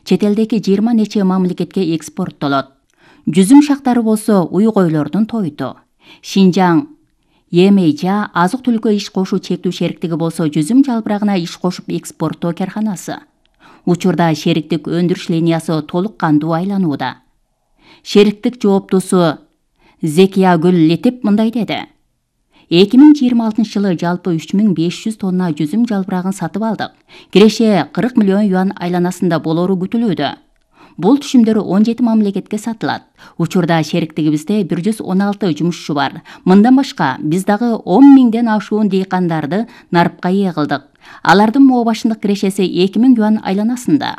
чет элдеги 20 нече мамлекетке экспорттолот. Жүзүм шактары болсо уйгойлордун тойту. Шинжаң Емейжа азык-түлүккө иш кошуу чектүү шериктиги болсо жүзүм жалбырагына иш кошуп экспорттоо карханасы. Учурда шериктик өндүрүш линиясы толук кандуу айланууда. Шериктик жооптусу Зекиягүл Летип мындай деди. 2026-жылы жалпы 3500 тонна жүзүм жалбырагын сатып алдык. Киреше 40 миллион юан айланасында болору күтүлүүдө. Бул түшүмдөр 17 мамлекетке сатылат. Учурда шериктигибизде 116 жумушчу бар. Мындан башка биз дагы 10 миңден ашуун дыйкандарды нарыпка ээ кылдык. Алардын мообашындык кирешеси 2000 юан айланасында.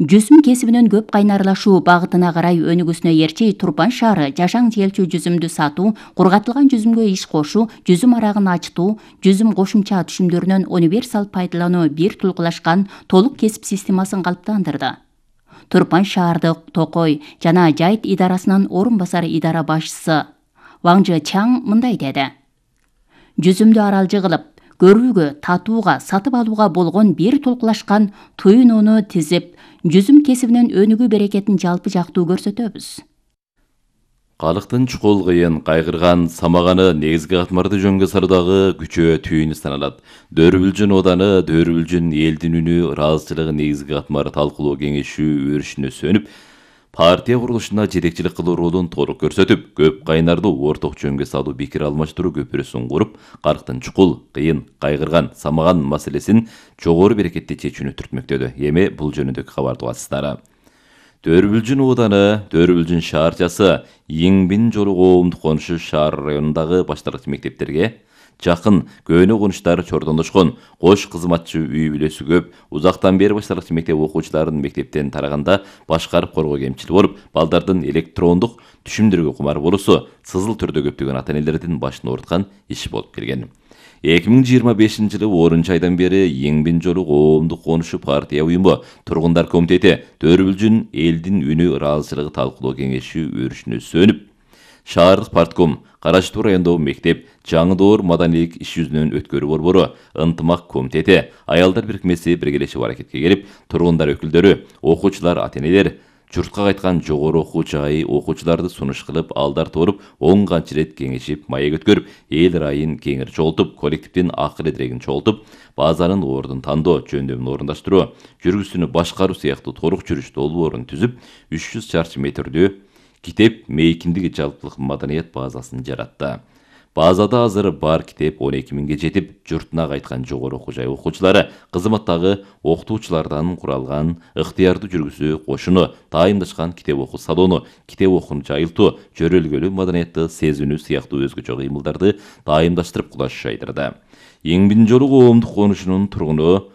Жүзүм кесибинин көп кайнарлашуу багытына карай өнүгүүсүнө эрчи Турпан шаары жашаң желчү жүзүмдү сатуу, кургатылган жүзүмгө иш кошуу, жүзүм арагын ачтуу, жүзүм кошумча түшүмдөрүнөн универсал пайдалануу бир тулкулашкан толук кесип системасын калыптандырды. Турпан шаардык Токой жана Жайыт идарасынын орун басар идара башчысы Ваңжы Чаң мындай деди. Жүзүмдү аралжы кылып, көрүүгө, татууга, сатып алууга болгон бир тулкулашкан туюнууну тизип, жүзүм кесибинин өнүгүү берекетин жалпы жактуу көрсөтөбүз. Калыктын чукул кыйын, кайгырган, самаганы негизги катмарды жөнгө салуудагы күчөө түйүнү саналат. Дөрүбүлжүн ооданы, Дөрүбүлжүн элдин үнү, ыраазычылыгы негизги катмары талкуулоо кеңешүү өрүшүнө сөнүп, партия курулушуна жетекчилик кылуу ролун толук көрсөтүп, көп кайнардуу орток жөнгө салуу пикир алмаштыруу көпүрөсүн куруп, калктын чукул, кыйын, кайгырган, самаган маселесин жогору берекетти чечүүнү түртмөктөдү. Эми бул жөнүндөгү кабарды угасыздар. Дөрүбүлжүн ооданы, Дөрүбүлжүн шаарчасы Иңбин жолу коомдук конушу шаар районундагы башталгыч мектептерге жакын көөнө конуштар чордондошкон, кош кызматчы үй бүлөсү көп, узактан бери башталгыч мектеп окуучуларын мектептен тараганда башкарып коргоо кемчил болуп, балдардын электрондук түшүмдөргө кумар болуусу сызыл түрдө көптөгөн ата-энелердин башын ооруткан иш болуп келген. 2025-жылы 10 айдан бери Иңбин жолу коомдук конушу партия уюму, тургундар комитети, Дөрүбүлжүн элдин үнү ыраазычылыгы талкуулоо кеңеши өрүшүнө сөнүп, шаардык партком, Карачтуу райондогу мектеп, Жаңы Доор маданийлик иш жүзүнөн өткөрүү борбору, ынтымак комитети, аялдар бирикмеси биргелешип аракетке келип, тургундар өкүлдөрү, окуучулар, ата-энелер, журтка кайткан жогору окуу жайы окуучуларды сунуш кылып, алдар торуп, 10 канча ирет кеңешип, маек өткөрүп, эл ырайын кеңири чогултуп, коллективдин акыл эдирегин чогултуп, базанын ордун тандоо, жөндөмүн орундаштыруу, жүргүзүүнү башкаруу сыяктуу толук жүрүш долбоорун түзүп, 300 чарчы метрдүү китеп мейкиндиги жалпылык маданият базасын жаратты. Базада азыр бар китеп 12 миңге жетип, журтуна кайткан жогору окуу жай окуучулары кызматтагы окутуучулардан куралган ыктыярдуу жүргүзүү кошуну, дайымдашкан китеп окуу салону, китеп окууну жайылтуу, жөрөлгөлүү маданиятты сезүүнү сыяктуу өзгөчө кыймылдарды дайымдаштырып кулаш жайдырды. Иңбин жолу коомдук конушунун тургуну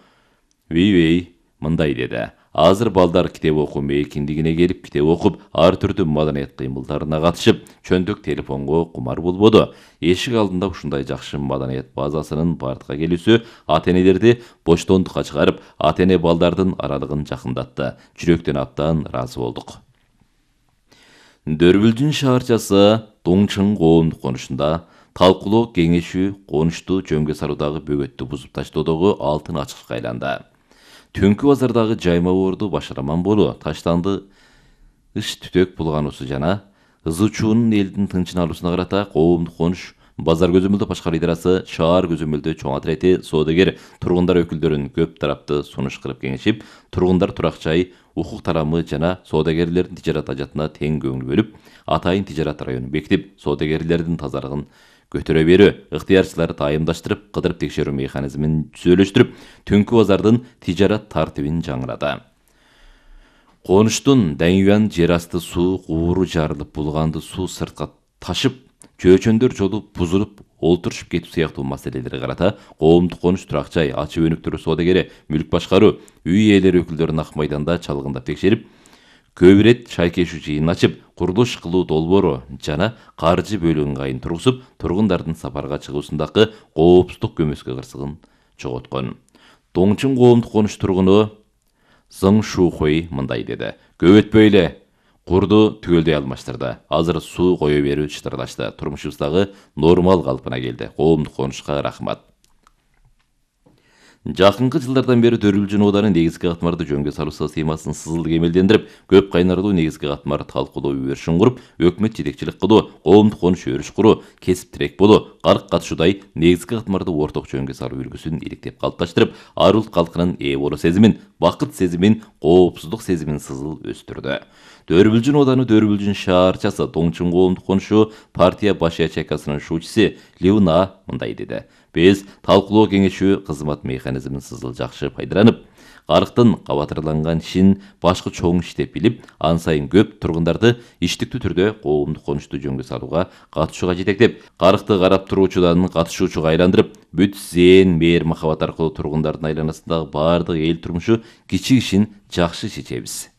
Вейвей мындай деди. Азыр балдар китеп окуу мейкиндигине келип, китеп окуп, ар түрдүү маданият кыймылдарына катышып, чөндүк телефонго кумар болбоду. Эшик алдында ушундай жакшы маданият базасынын бардыкка келүүсү ата-энелерди боштондукка чыгарып, ата-эне балдардын аралыгын жакындатты. Жүрөктөн абдан ыраазы болдук. Дөрүбүлжүн шаарчасы Доңчың коомдук конушунда талкуулоо кеңешүү конушту жөнгө салуудагы бөгөттү бузуп таштоодогу алтын ачкычка айланды. Түнкү базардагы жайма боорду башараман болуу, таштанды ыш түтөк булгануусу жана ызычуунун элдин тынчын алуусуна карата коомдук конуш базар көзөмөлдөө башкаруу идарасы шаар көзөмөлдөө чоң отрети соодагер тургундар өкүлдөрүн көп тарапты сунуш кылып кеңешип, тургундар турак жай, укук тарамы жана соодагерлердин тижарат ажатына тең көңүл бөлүп, атайын тижарат районун бекитип, соодагерлердин тазалыгын көтөрө берүү, ыктыярчылар дайымдаштырып, кыдырып текшерүү механизмин түзөлүштүрүп, түнкү базардын тижарат тартибин жаңырады. Конуштун Даңюан жер асты суу кууру жарылып, булганды суу сыртка ташып, чөөчөндөр жолу бузулуп, олтурушуп кетүү сыяктуу маселелерге карата коомдук конуш турак жай, ачык өнүктүрүү соодагери, мүлк башкаруу, үй ээлери өкүлдөрүн ак майданда чалгындап текшерип, көп ирет шайкешүү жыйын ачып, курулуш кылуу долбоору жана каржы бөлүү ыңгайын тургузуп, тургундардын сапарга чыгуусундагы коопсуздук көмөскө кырсыгын чоготкон. Доңчың коомдук конуш тургуну Зың Шухой мындай деди. Көп өтпөй эле курду түгөлдөй алмаштырды. Азыр суу кое берүү чытырлашты. Турмушубуздагы нормал калпына келди. Коомдук конушка рахмат. Жакынкы жылдардан бери Төрүлжүн ооданы негизги катмарды жөнгө салуу системасын сызылды кемелдендирип, көп кайнарлуу негизги катмар талкуулоо үбөрүшүн куруп, өкмөт жетекчилик кылуу, коомдук конуш өрүш куруу, кесип тирек болуу, карк катышуудай негизги катмарды орток жөнгө салуу үлгүсүн иликтеп калыпташтырып, ар улут калкынын ээ болуу сезимин, бакыт сезимин, коопсуздук сезимин сызыл өстүрдү. Төрүбүлжүн ооданы Төрүбүлжүн шаарчасы Тоңчун коомдук конушу партия баш ячейкасынын шуучусы Леуна мындай деди. Биз талкуулоо кеңешүү кызмат механизмин сызыл жакшы пайдаланып, карктын кабатырланган ишин башкы чоң иш деп билип, ан сайын көп тургундарды иштиктүү түрдө коомдук конушту жөнгө салууга катышууга жетектеп, каркты карап туруучудан катышуучуга айландырып, бүт зээн, мээр махабат аркылуу тургундардын айланасындагы баардык эл турмушу кичик ишин жакшы чечебиз.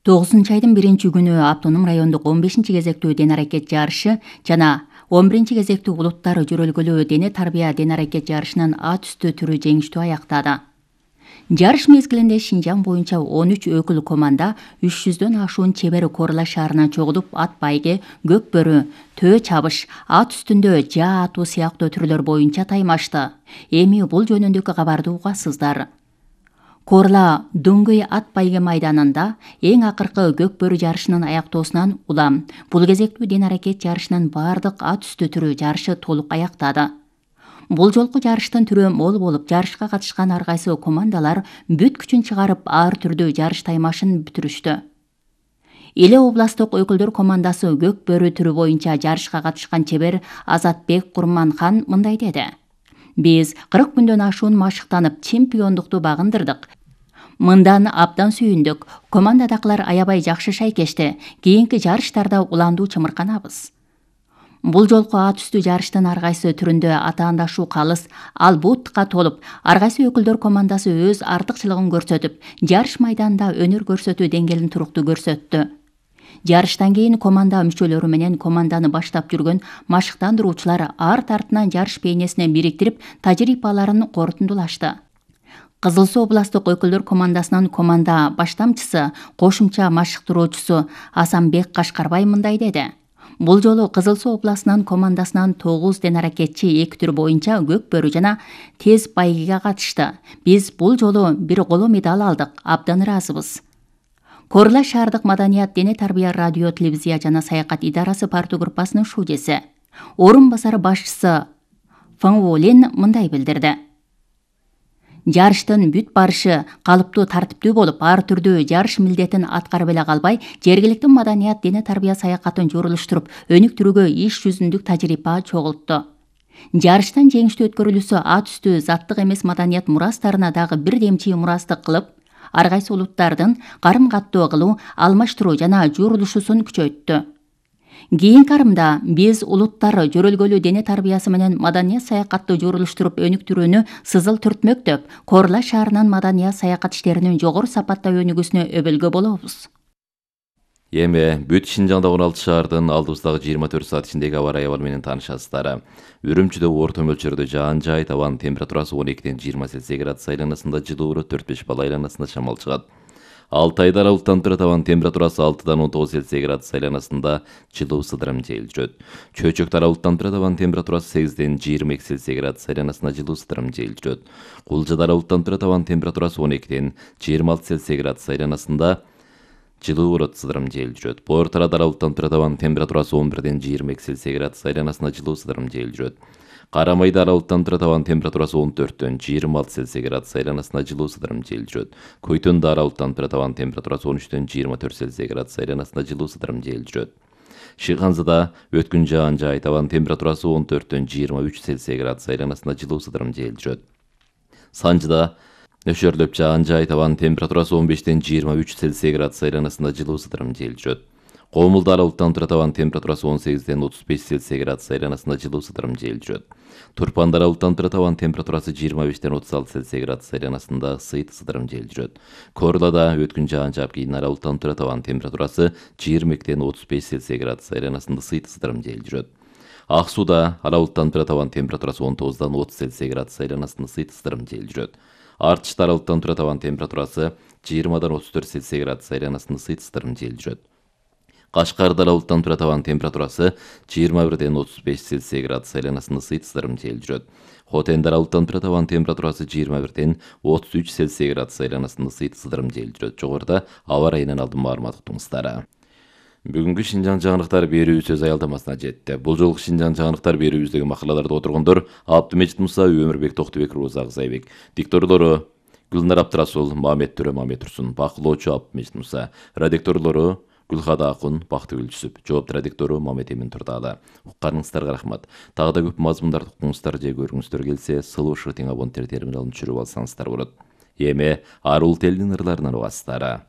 9 айдын 1-күнү автоном райондук 15-кезектүү ден-аракет жарышы жана 11-кезектүү улуттар жөрөлгөлүү дене тарбия ден-аракет жарышынын ат үстү түрү жеңиштүү аяктады. Жарыш мезгилинде Шинжаң боюнча 13 өкүл команда 300дөн ашуун чебер Корла шаарына чогулуп, ат байге, көк бөрү, төө чабыш, ат үстүндө жаа атуу сыяктуу түрлөр боюнча таймашты. Эми бул жөнүндөгү кабарды угасыздар. Корла Дөңгөй ат байге майданында эң акыркы көк бөрү жарышынын аяктоосунан улам бул кезектүү ден-аракет жарышынын баардык ат үстү түрү жарышы толук аяктады. Бул жолку жарыштын түрү мол болуп, жарышка катышкан ар кайсы командалар бүт күчүн чыгарып, ар түрдүү жарыш таймашын бүтүрүштү. Эле областтык өкүлдөр командасы көк бөрү түрү боюнча жарышка катышкан чебер Азатбек Курманхан мындай деди. Биз 40 күндөн ашуун машыктанып, чемпиондукту багындырдык. Мындан абдан сүйүндүк. Командадакылар аябай жакшы шайкешти. Кийинки жарыштарда уландуу чымырканабыз. Бул жолку ат үстү жарыштын ар кайсы түрүндө атаандашуу калыс, албутка толуп, ар кайсы өкүлдөр командасы өз артыкчылыгын көрсөтүп, жарыш майданында өнөр көрсөтүү деңгээлин туруктуу көрсөттү. Жарыштан кийин команда мүчөлөрү менен команданы баштап жүргөн машыктандыруучулар арт артынан жарыш бейнесине бириктирип, тажрыйбаларын корутундулашты. Кызыл Суу областтык өкүлдөр командасынын команда баштамчысы, кошумча машыктыруучусу Асанбек Кашкарбай мындай деди. Бул жолу Кызыл Суу областынын командасынан 9 ден-аракетчи эки түр боюнча көк бөрү жана тез байгеге катышты. Биз бул жолу бир коло медаль алдык, абдан ыраазыбыз. Корла шаардык маданият, дене тарбия, радио, телевизия жана саякат идарасы партия группасынын шуучусу, орун басары башчысы Фаңволин мындай билдирди. Жарыштын бүт барышы калыптуу тартиптүү болуп, ар түрдүү жарыш милдетин аткарып эле калбай, жергиликтүү маданият, дене тарбия саякатын журулуштуруп, өнүктүрүүгө иш жүзүндүк тажрыйба чогултту. Жарыштын жеңиштүү өткөрүлүүсү ат үстү заттык эмес маданият мурастарына дагы бир демчи мурастык кылып, ар кайсы улуттардын карым-каттоо кылуу, алмаштыруу жана журулушуусун күчөйттү. Кийинки арымда биз улуттар жөрөлгөлүү дене тарбиясы менен маданият саякатты журулуштуруп өнүктүрүүнү сызыл түртмөктөп, Корла шаарынын маданият саякат иштеринин жогору сапатта өнүгүүсүнө өбөлгө болобуз. Эми бүт Шинжаңда 16 шаардын алдыбыздагы 24 саат ичиндеги аба ырайы менен таанышасыздар. Үрүмчүдө орто мөлчөрдө жаан-жай, табан температурасы 12-ден 20 Цельсий градус айланасында, жылууру 4-5 балл айланасында шамал чыгат. Алтайда аралыктан тура табан температурасы 6-дан 19 Цельсий градус айланасында, жылуу сыдырым жел жүрөт. Чөчөктө аралыктан тура табан температурасы 8-ден 22 Цельсий градус айланасында, жылуу сыдырым жел жүрөт. Кулжада аралыктан тура табан температурасы 12-ден 26 Цельсий градус айланасында, жылуу сыдырым жел жүрөт. Бор Тарада аралыктан тура табан температурасы 11-ден 22 Цельсий градус айланасында, жылуу сыдырым жел жүрөт. Карамайда аралыктан тура табан температурасы 14-дөн 26 Цельсий градус айланасында, жылуу сыдырым жел жүрөт. Көйтөндө аралыктан тура табан температурасы 13-дөн 24 Цельсий градус айланасында, жылуу сыдырым жел жүрөт. Шыйханзада өткүн жаан-жай, табан температурасы 14-дөн 23 Цельсий градус айланасында, жылуу сыдырым жел жүрөт. Санжыда нөшөрлөп жаан-жай, табан температурасы 15-ден 23 Цельсий градус айланасында, жылуу сыдырым жел жүрөт. Комулда аралыктан тура табан температурасы 18-ден 35 Цельсий градус айланасында, жылуу сыдырым жел жүрөт. Турпанда аралыктан тура табан температурасы 25-ден 36 Цельсий градус айланасында, сыйт сыдырым жел жүрөт. Корлада өткүн жаан-жаап кийин аралыктан тура табан температурасы 22-ден 35 Цельсий градус айланасында, сыйт сыдырым жел жүрөт. Ак Сууда аралыктан тура табан температурасы 19-дан 30 Цельсий градус айланасында, сыйт сыдырым жел жүрөт. Артышта аралыктан тура табан температурасы 20-дан 34 Цельсий градус айланасында, сыйт сыдырым жел жүрөт. Кашкарда булуттан турат, абанын температурасы 21-ден 35 Цельсий градус айланасында ысыйтып жел жүрөт. Хотенде булуттан турат, абанын температурасы 21-ден 33 Цельсий градус айланасында ысыйтып жел жүрөт. Жогоруда аба ырайынан алдын маалымат уктуңуздар. Бүгүнкү Шинжаң жаңылыктар берүү сөз аялдамасына жетти. Бул жолку Шинжаң жаңылыктар берүүбүздөгү макалаларда отургондор Абдымежит Муса, Өмүрбек Токтубек, Роза Акзайбек. Дикторлору Гүлнар Абдрасул, Мамет Төрө, Мамет Турсун. Бакылоочу Абдымежит Муса. Редакторлору Гүлхада Акун, Бактыгүл Жүсүп. Жоопту редактору Мамет Эмин Турдалы. Укканыңыздарга рахмат. Тагы да көп мазмундарды укуңуздар же көргүңүздөр келсе, сылуу шыртың абоненттер терминалын түшүрүп алсаңыздар болот. Эми арул телдин ырларынан угасыздар.